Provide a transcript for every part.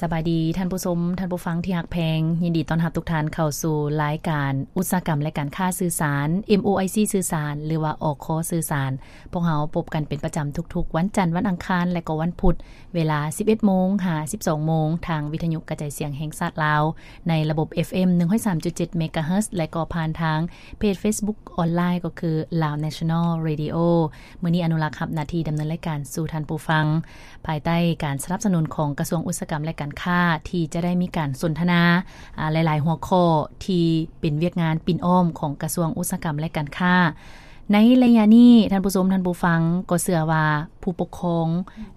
ສະບາຍດີທ່ານຜູ້ຊົມ, ທ່ານຜູ້ຟັງທີ່ຮັກແພງ, ຍິນດີຕ້ອນຮັບທຸກທ່ານເຂົ້າສູ່ລາຍການອຸດສາຫະກຳ ແລະ ການຄ້າສື່ສານ ເອັມໂອໄອຊີ ສື່ສານ ຫຼືວ່າ ອຄ ສື່ສານ. ພວກເຮົາພົບກັນເປັນປະຈຳທຸກໆວັນຈັນ, ວັນອັງຄານ ແລະ ກໍວັນພຸດ ເວລາສິບເອັດໂມງຫາສິບສອງໂມງ ທາງວິທະຍຸກະຈາຍສຽງແຫ່ງຊາດລາວ ໃນລະບົບ ເອຟເອັມ ໜຶ່ງຮ້ອຍສາມຈຸດເຈັດ ເມກາເຮີດ ແລະ ກໍຜ່ານທາງເພຈເຟສບຸກອອນລາຍ ກໍຄື Lao National Radio. ມື້ນີ້ອະນຸລັກຮັບໜ້າທີ່ດຳເນີນລາຍການສູ່ທ່ານຜູ້ຟັງ ພາຍໃຕ້ການສະໜັບສະໜູນຂອງກະຊວງອຸດສາຫະກຳ ແລະ ການຄ້າ ທີ່ຈະໄດ້ມີການສົນທະນາ ອາ ຫຼາຍໆຫົວຂໍ້ທີ່ເປັນວຽກງານປິ່ນອ້ອມຂອງກະຊວງອຸດສາຫະກຳ ແລະ ການຄ້າ. ໃນໄລຍະນີ້ ທ່ານຜູ້ຊົມ, ທ່ານຜູ້ຟັງ ກໍເຊື່ອວ່າຜູ້ປົກຄອງ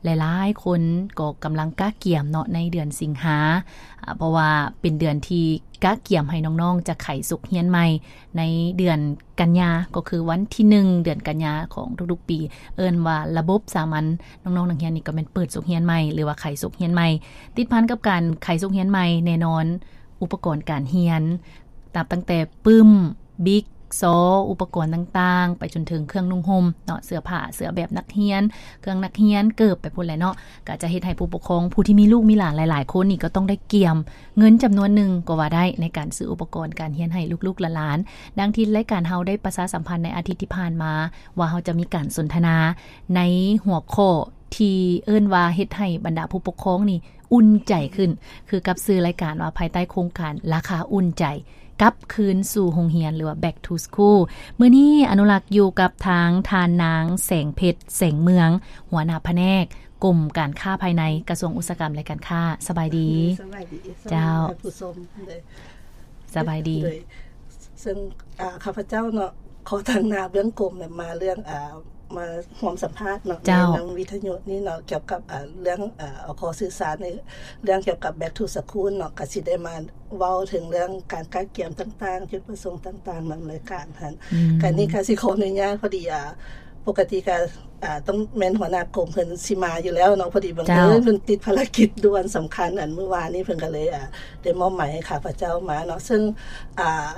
ຫຼາຍໆຄົນກໍກຳລັງກະກຽມເນາະ ໃນເດືອນສິງຫາ ອາ ເພາະວ່າເປັນເດືອນທີ່ກະກຽມໃຫ້ນ້ອງໆຈະໄຂສົກຮຽນໃໝ່ ໃນເດືອນກັນຍາ ກໍຄືວັນທີໜຶ່ງເດືອນກັນຍາຂອງທຸກໆປີ ເອີ້ນວ່າລະບົບສາມັນ. ນ້ອງໆນັກຮຽນນີ້ກໍແມ່ນເປີດສົກຮຽນໃໝ່ ຫຼືວ່າໄຂສົກຮຽນໃໝ່. ຕິດພັນກັບການໄຂສົກຮຽນໃໝ່ ແນ່ນອນ ອຸປະກອນການຮຽນ ນັບຕັ້ງແຕ່ປຶ້ມ, ບິກ, ຊໍ, ອຸປະກອນຕ່າງໆ ໄປຈົນເຖິງເຄື່ອງນຸ່ງຫົ່ມເນາະ, ເສື້ອຜ້າ, ເສື້ອແບບນັກຮຽນ, ເຄື່ອງນັກຮຽນ, ເກີບ ໄປພຸ້ນແຫຼະເນາະ. ກໍຈະເຮັດໃຫ້ຜູ້ປົກຄອງຜູ້ທີ່ມີລູກມີຫຼານຫຼາຍໆຄົນນີ້ ກໍຕ້ອງໄດ້ກຽມເງິນຈຳນວນໜຶ່ງກໍວ່າໄດ້ ໃນການຊື້ອຸປະກອນການຮຽນໃຫ້ລູກໆຫຼານໆ. ດັ່ງທີ່ລາຍການເຮົາໄດ້ປະຊາສຳພັນໃນອາທິດທີ່ຜ່ານມາ ວ່າເຮົາຈະມີການສົນທະນາໃນຫົວຂໍ້ທີ່ເອີ້ນວ່າ ເຮັດໃຫ້ບັນດາຜູ້ປົກຄອງນີ້ອຸ່ນໃຈຂຶ້ນ ຄືກັບຊື່ລາຍການວ່າ ພາຍໃຕ້ໂຄງການລາຄາອຸ່ນໃຈ ກັບຄືນສູ່ໂຮງຮຽນ ຫຼືວ່າ Back to School. ມື້ນີ້ອະນຸລັກຢູ່ກັບທາງທ່ານນາງ ແສງເພັດ ແສງເມືອງ ຫົວໜ້າພະແນກ ກົມການຄ້າພາຍໃນ ກະຊວງອຸດສາຫະກຳ ແລະ ການຄ້າ. ສະບາຍດີ. ສະບາຍດີ. ເຈົ້າ. ທ່ານຜູ້ຊົມ. ໂດຍ. ສະບາຍດີ. ໂດຍ. ເຊິ່ງ ອາ ຂ້າພະເຈົ້າເນາະ ຂໍຕາງໜ້າເບື້ອງກົມແບບມາເລື່ອງ ອາ ມາຮ່ວມສຳພາດເນາະ ເຈົ້າ. ໃນນຳວິທະຍຸນີ້ເນາະ ກ່ຽວກັບ ອາ ເລື່ອງ ອາ ອຄ ສື່ສານ ໃນເລື່ອງກ່ຽວກັບ Back to School ເນາະ ກໍຊິໄດ້ມາເວົ້າເຖິງເລື່ອງການກະກຽມຕ່າງໆ ຈຸດປະສົງຕ່າງໆ ນຳລາຍການຫັ້ນ. ອືມ. ການນີ້ກໍຊິຂໍອະນຸຍາດ ພໍດີ ອາ ປົກກະຕິກໍ ອາ ຕ້ອງແມ່ນຫົວໜ້າກົມເພິ່ນຊິມາຢູ່ແລ້ວເນາະ, ພໍດີບັງເອີນ ເຈົ້າ. ເພິ່ນຕິດພາລະກິດດ່ວນສຳຄັນ ອັນມື້ວານນີ້ເພິ່ນກໍເລີຍ ອາ ໄດ້ມອບໝາຍໃຫ້ຂ້າພະເຈົ້າມາເນາະ. ເຊິ່ງ ອາ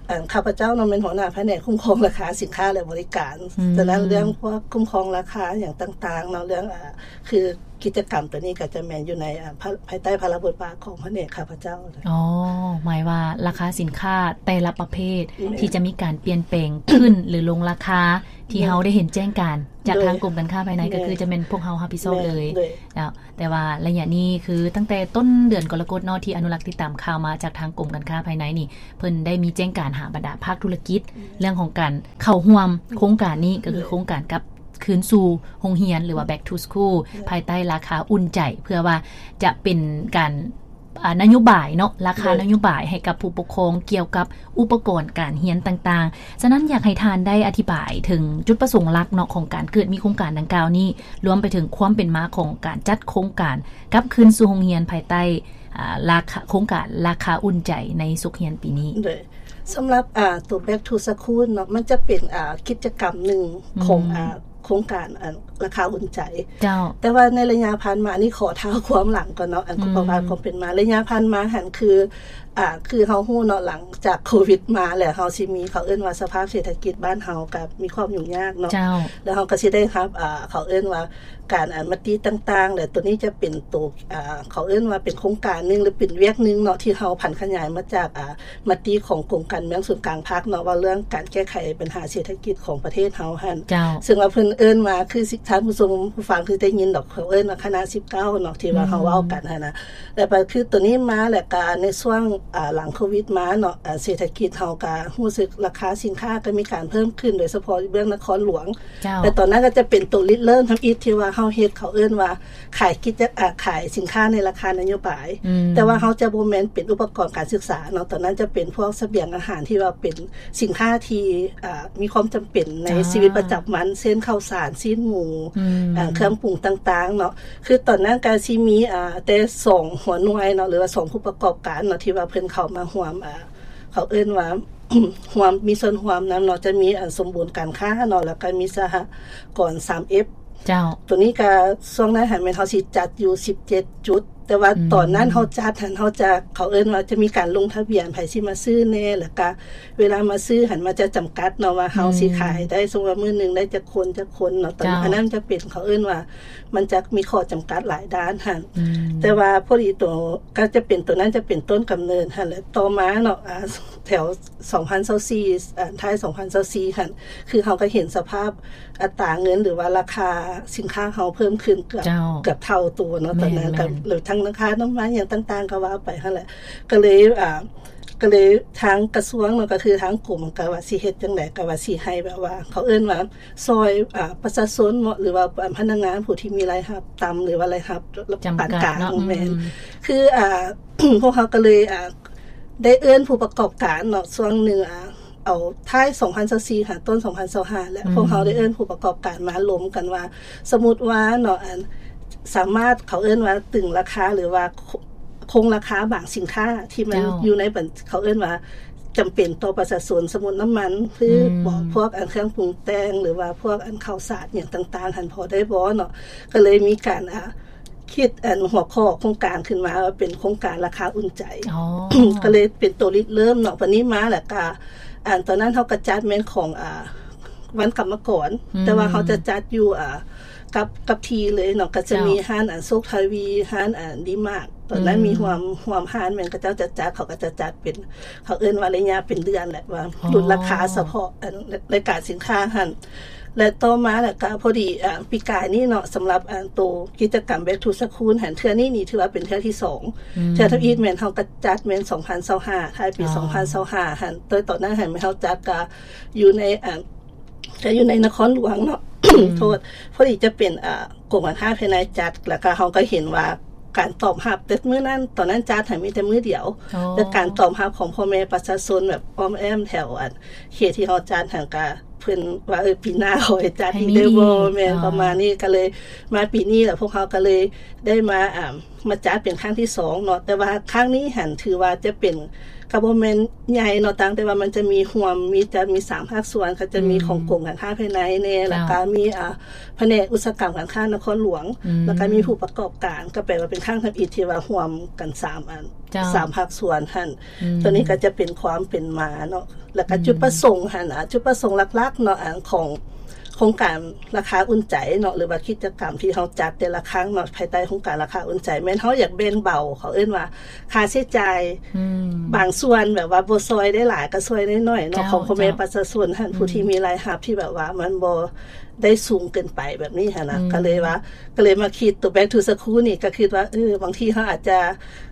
ອັນ ຂ້າພະເຈົ້າເນາະ ແມ່ນຫົວໜ້າພະແນກຄຸ້ມຄອງລາຄາສິນຄ້າ ແລະ ບໍລິການ. ອືມ. ສະນັ້ນເລື່ອງພວກຄຸ້ມຄອງລາຄາຫຍັງຕ່າງໆເນາະ ເລື່ອງ ອາ ຄືກິດຈະກຳໂຕນີ້ກໍຈະແມ່ນຢູ່ໃນ ອາ ພະ ພາຍໃຕ້ພາລະບົດບາດຂອງພະແນກຂ້າພະເຈົ້າ. ອໍ ໝາຍວ່າລາຄາສິນຄ້າແຕ່ລະປະເພດ ແມ່ນ. ທີ່ຈະມີການປ່ຽນແປງຂຶ້ນ ຫຼື ລົງລາຄາ ທີ່ ໂດຍ. ເຮົາໄດ້ເຫັນແຈ້ງການຈາກ ໂດຍ. ທາງກົມການຄ້າພາຍໃນ ແມ່ນ. ກໍຄືຈະແມ່ນພວກເຮົາຮັບຜິດຊອບເລີຍ. ແມ່ນ. ໂດຍ. ເຈົ້າ. ແຕ່ວ່າໄລຍະນີ້ຄືຕັ້ງແຕ່ຕົ້ນເດືອນກໍລະກົດເນາະ ທີ່ອະນຸລັກຕິດຕາມຂ່າວມາຈາກທາງກົມການຄ້າພາຍໃນນີ້ ເພິ່ນໄດ້ມີແຈ້ງການຫາບັນດາພາກທຸລະກິດ ອືມ ເລື່ອງຂອງການເຂົ້າຮ່ວມໂຄງການນີ້ ໂດຍ. ກໍຄືໂຄງການກັບຄືນສູ່ໂຮງຮຽນ ຫຼືວ່າ Back to School ໂດຍ. ພາຍໃຕ້ລາຄາອຸ່ນໃຈ ເພື່ອວ່າຈະເປັນການ ອາ ນະໂຍບາຍເນາະ ລາຄາ ໂດຍ. ນະໂຍບາຍໃຫ້ກັບຜູ້ປົກຄອງກ່ຽວກັບອຸປະກອນການຮຽນຕ່າງໆ. ສະນັ້ນ ຢາກໃຫ້ທ່ານໄດ້ອະທິບາຍເຖິງຈຸດປະສົງຫຼັກເນາະ ຂອງການເກີດມີໂຄງການດັ່ງກ່າວນີ້ ລວມໄປເຖິງຄວາມເປັນມາຂອງການຈັດໂຄງການກັບຄືນສູ່ໂຮງຮຽນ ພາຍໃຕ້ ອາ ລາຄາ ໂຄງການລາຄາອຸ່ນໃຈໃນສົກຮຽນປີນີ້. ໂດຍ. ສຳລັບ ອາ ຕົວ Back to School ເນາະ ມັນຈະເປັນ ອາ ກິດຈະກຳໜຶ່ງຂອງ ອືມ ອາ ໂຄງການ ອາ ລາຄາອຸ່ນໃຈ. ເຈົ້າ. ແຕ່ວ່າໃນໄລຍະຜ່ານມານີ້ ຂໍທ້າວຄວາມຫຼັງກ່ອນເນາະ ອັນ ອືມ ປະຫວັດຄວາມເປັນມາ ໄລຍະຜ່ານມາຫັ້ນ ຄື ອາ ຄືເຮົາຮູ້ເນາະ ຫຼັງຈາກໂຄວິດມາແລ້ວ ເຮົາຊິມີ ເຂົາເອີ້ນວ່າສະພາບເສດຖະກິດບ້ານເຮົາກໍມີຄວາມຫຍຸ້ງຍາກເນາະ. ເຈົ້າ. ແລ້ວເຮົາກໍຊິໄດ້ຮັບ ອາ ເຂົາເອີ້ນວ່າ ການ ອາ ມະຕິຕ່າງໆ ແລະ ໂຕນີ້ຈະເປັນໂຕ ອາ ເຂົາເອີ້ນວ່າເປັນໂຄງການໜຶ່ງ ຫຼື ເປັນວຽກໜຶ່ງເນາະ ທີ່ເຮົາຜັນຂະຫຍາຍມາຈາກ ອາ ມະຕິຂອງກົມການເມືອງສູນກາງພັກເນາະ ວ່າເລື່ອງການແກ້ໄຂບັນຫາເສດຖະກິດຂອງປະເທດເຮົາຫັ້ນ. ເຈົ້າ. ເຊິ່ງວ່າເພິ່ນເອີ້ນວ່າ ຄື ທ່ານຜູ້ຊົມຜູ້ຟັງຄືໄດ້ຍິນດອກ ເຂົາເອີ້ນວ່າຄະນະສິບເກົ້າເນາະ ທີ່ວ່າ ອືມ ເຮົາເວົ້າກັນຫັ້ນນະ. ແລ້ວກໍຄືໂຕນີ້ມາ ແລ້ວກໍໃນຊ່ວງ ອາ ຫຼັງໂຄວິດມາເນາະ ອາ ເສດຖະກິດເຮົາກໍຮູ້ສຶກລາຄາສິນຄ້າກໍມີການເພີ່ມຂຶ້ນ ໂດຍສະເພາະເບື້ອງນະຄອນຫຼວງ. ເຈົ້າ. ແຕ່ຕອນນັ້ນກໍຈະເປັນໂຕລິດເລີ່ມທຳອິດ ທີ່ວ່າເຮົາເຮັດ ເຂົາເອີ້ນວ່າຂາຍກິດຈະ ອາ ຂາຍສິນຄ້າໃນລາຄານະໂຍບາຍ. ອືມ. ແຕ່ວ່າເຮົາຈະບໍ່ແມ່ນເປັນອຸປະກອນການສຶກສາເນາະ ຕອນນັ້ນຈະເປັນພວກສະບຽງອາຫານທີ່ວ່າເປັນສິນຄ້າທີ່ ອາ ມີຄວາມຈຳເປັນໃນ ເຈົ້າ ຊີວິດປະຈຳວັນ ເຊັ່ນ ເຂົ້າສານ, ຊີ້ນໝູ, ອືມ ອາ ເຄື່ອງປຸງຕ່າງໆເນາະ. ຄືຕອນນັ້ນກໍຊິມີ ອາ ແຕ່ສອງຫົວໜ່ວຍເນາະ ຫຼືວ່າສອງຜູ້ປະກອບການເນາະ ທີ່ວ່າເພິ່ນເຂົ້າມາຮ່ວມ ອາ ເຂົາເອີ້ນວ່າ ຮ່ວມ ມີສ່ວນຮ່ວມນຳເນາະ ຈະມີ ອາ ສົມບູນການຄ້າເນາະ ແລ້ວກໍມີສະຫະກອນ ສາມເອັຟ. ເຈົ້າ. ໂຕນີ້ກໍຊ່ວງນັ້ນຫັ້ນແມ່ນເຮົາຊິຈັດຢູ່ສິບເຈັດຈຸດ ແ ແຕ່ວ່າ ອືມ ຕອນນັ້ນເຮົາຈັດຫັ້ນ ເຮົາຈະ ເຂົາເອີ້ນວ່າຈະມີການລົງທະບຽນ ໃຜຊິມາຊື້ແດ່ ແລ້ວກະເວລາມາຊື້ຫັ້ນ ມັນຈະຈຳກັດເນາະ ວ່າເຮົາ ອືມ ຊິຂາຍໄດ້ ສົມມຸດວ່າມື້ໜຶ່ງໄດ້ຈັກຄົນ ຈັກຄົນເນາະ ຕອນ ເຈົ້າ ອັນນັ້ນຈະເປັນ ເຂົາເອີ້ນວ່າ ມັນຈະມີຂໍ້ຈຳກັດຫຼາຍດ້ານຫັ້ນ ອືມ ແຕ່ວ່າພໍດີໂຕ ກໍຈະເປັນ ໂຕນັ້ນຈະເປັນຕົ້ນກຳເນີດຫັ້ນແຫຼະ ຕໍ່ມາເນາະ ອາ ແຖວສອງພັນຊາວສີ່ ອາ ທ້າຍສອງພັນຊາວສີ່ຫັ້ນ ຄືເຮົາກໍເຫັນສະພາບອັດຕາເງິນ ຫຼືວ່າລາຄາສິນຄ້າເຮົາເພີ່ມຂຶ້ນເກືອບ ເຈົ້າ ເກືອບເທົ່າຕົວເນາະ ແມ່ນ ຕອນນັ້ນ ແມ່ນ ກໍ ຫຼືທາງລາຄານ້ຳມັນຫຍັງຕ່າງໆ ກໍວ່າໄປຫັ້ນແຫຼະ ກໍເລີຍ ອາ ກໍເລີຍທາງກະຊວງເນາະ ກໍຄືທາງກົມກໍວ່າຊິເຮັດຈັ່ງໃດ ກໍວ່າຊິໃຫ້ແບບວ່າ ເຂົາເອີ້ນວ່າ ຊ່ອຍ ອາ ປະຊາຊົນເນາະ ຫຼືວ່າ ອາ ພະນັກງານຜູ້ທີ່ມີລາຍຮັບຕ່ຳ ຫຼືວ່າລາຍຮັບປານກາງ ຈຳກັດເນາະ ແມ່ນ ອືມ ຄື ອາ ພວກເຮົາກໍເລີຍ ອາ ໄດ້ເອີ້ນຜູ້ປະກອບການເນາະ ຊ່ວງໜຶ່ງ ອາ ເອົາທ້າຍສອງພັນຊາວສີ່ຫາຕົ້ນສອງພັນຊາວຫ້າແຫຼະ ອືມ ພວກເຮົາໄດ້ເອີ້ນຜູ້ປະກອບການມາລົມກັນວ່າ ສົມມຸດວ່າເນາະ ອັນ ສາມາດ ເຂົາເອີ້ນວ່າຕຶງລາຄາ ຫຼືວ່າ ຄົງລາຄາບາງສິນຄ້າທີ່ມັນ ເຈົ້າ ຢູ່ໃນບັນ ເຂົາເອີ້ນວ່າຈຳເປັນຕໍ່ປະຊາຊົນ ສົມມຸດນ້ຳມັນພືດ ອືມ ບໍ ພວກອັນເຄື່ອງປຸງແຕ່ງ ຫຼືວ່າພວກອັນເຂົ້າສານຫຍັງຕ່າງໆຫັ້ນ ພໍໄດ້ບໍ່ເນາະ ກໍເລີຍມີການ ອາ ຄິດອັນຫົວຂໍ້ໂຄງການຂຶ້ນມາວ່າເປັນໂຄງການລາຄາອຸ່ນໃຈ ອໍ ກໍເລີຍເປັນໂຕລິດເລີ່ມເນາະ ບັດນີ້ມາແລ້ວກະ ອັນຕອນນັ້ນເຮົາກໍຈັດແມ່ນຂອງ ອາ ວັນກຳມະກອນ ອືມ ແຕ່ວ່າເຮົາຈະຈັດຢູ່ ອາ ກັບ ກັບທີ່ເລີຍເນາະ ກໍຈະ ເຈົ້າ ມີຮ້ານອັນໂຊກທະວີ ຮ້ານອັນດີມາດ ຕອນນັ້ນ ອືມ ມີຮ່ວມ ຮ່ວມຮ້ານແມ່ນເຂົາເຈົ້າຈະຈັດ ເຂົາກໍຈະຈັດເປັນ ເຂົາເອີ້ນວ່າໄລຍະເປັນເດືອນແຫຼະ ວ່າ ອໍ ຫຼຸດລາຄາສະເພາະ ອັນ ລາຍການສິນຄ້າຫັ້ນ ແລະ ຕໍ່ມາແລ້ວກໍພໍດີ ອາ ປີກາຍນີ້ເນາະ ສຳລັບ ອາ ໂຕກິດຈະກຳ Back to School ຫັ້ນ ເທື່ອນີ້ນີ້ຖືວ່າເປັນເທື່ອທີສອງ ອືມ ເທື່ອທຳອິດແມ່ນເຮົາກໍຈັດແມ່ນສອງພັນຊາວຫ້າ ທ້າຍປີ ອໍ ສອງພັນຊາວຫ້າຫັ້ນ ໂດຍຕອນນັ້ນຫັ້ນແມ່ນເຮົາຈັດກໍຢູ່ໃນ ອາ ກໍຢູ່ໃນນະຄອນຫຼວງເນາະ ອືມ ໂທດ ພໍດີຈະເປັນ ອາ ກົມການຄ້າພາຍໃນຈັດ ແລ້ວກໍເຮົາກໍເຫັນວ່າການຕອບຮັບ ແຕ່ມື້ນັ້ນ ຕອນນັ້ນຈັດຫັ້ນມີແຕ່ມື້ດຽວ ອໍ ແຕ່ການຕອບຮັບຂອງພໍ່ແມ່ປະຊາຊົນແບບອ້ອມແອ້ມແຖວ ອັນ ເຂດທີ່ເຮົາຈັດຫັ້ນກະ ເພິ່ນວ່າ ເອີ ປີໜ້າຂໍໃຫ້ຈັດອີກເດີບໍ່ ໃຫ້ມີອີກ ແມ່ນ ອ່າ ປະມານນີ້ ກໍເລີຍມາປີນີ້ແລ້ວ ພວກເຮົາກໍເລີຍໄດ້ມາ ອ່າ ມາຈັດເປັນຄັ້ງທີສອງເນາະ ແຕ່ວ່າຄັ້ງນີ້ຫັ້ນຖືວ່າຈະເປັນ ກໍບໍ່ແມ່ນໃຫຍ່ເນາະ ຕ່າງແຕ່ວ່າມັນຈະມີຮ່ວມ ມີ ຈະມີສາມພາກສ່ວນ ກໍຈະມີ ອືມ ຂອງກົມການຄ້າພາຍໃນແດ່ ເຈົ້າ ແລ້ວກໍມີ ອ່າ ພະແນກອຸດສາຫະກຳການຄ້ານະຄອນຫຼວງ ອືມ ແລ້ວກໍມີຜູ້ປະກອບການ ກໍແປວ່າເປັນຄັ້ງທຳອິດທີ່ວ່າຮ່ວມກັນສາມອັນ ເຈົ້າ ສາມພາກສ່ວນຫັ້ນ ອືມ ຕົວນີ້ກໍຈະເປັນຄວາມເປັນມາເນາະ ແລ້ວກໍ ອືມ ຈຸດປະສົງຫັ້ນ ອາ ຈຸດປະສົງຫຼັກໆເນາະ ອັນຂອງໂຄງການລາຄາອຸ່ນໃຈເນາະ ຫຼືວ່າກິດຈະກຳທີ່ເຮົາຈັດແຕ່ລະຄັ້ງເນາະ ພາຍໃຕ້ໂຄງການລາຄາອຸ່ນໃຈ ແມ່ນເຮົາຢາກແບ່ງເບົາ ເຂົາເອີ້ນວ່າຄ່າໃຊ້ຈ່າຍ ອືມ ບາງສ່ວນ ແບບວ່າບໍ່ຊ່ອຍໄດ້ຫຼາຍກໍຊ່ວຍໜ້ອຍໆເນາະ ເຈົ້າ ຂອງພໍ່ແມ່ ເຈົ້າ ປະຊາຊົນຫັ້ນ ອືມ ຜູ້ທີ່ມີລາຍຮັບທີ່ແບບວ່າມັນບໍ່ ໄດ້ສູງເກີນໄປແບບນີ້ຫັ້ນນະ ອືມ ກໍເລີຍວ່າ ກໍເລີຍມາຄິດໂຕ Back to School ນີ້ ກໍຄິດວ່າ ເອີ ບາງທີເຮົາອາດຈະ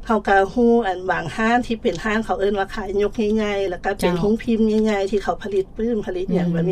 ເຮົາກໍຮູ້ອັນບາງຮ້ານທີ່ເປັນຮ້ານ ເຂົາເອີ້ນວ່າຂາຍຍົກໃຫຍ່ໆ ແລ້ວກໍເປັນ ເຈົ້າ ໂຮງພິມໃຫຍ່ໆ ທີ່ເຂົາຜະລິດປຶ້ມ ຜະລິດຫຍັງ ອືມ ແບບນີ້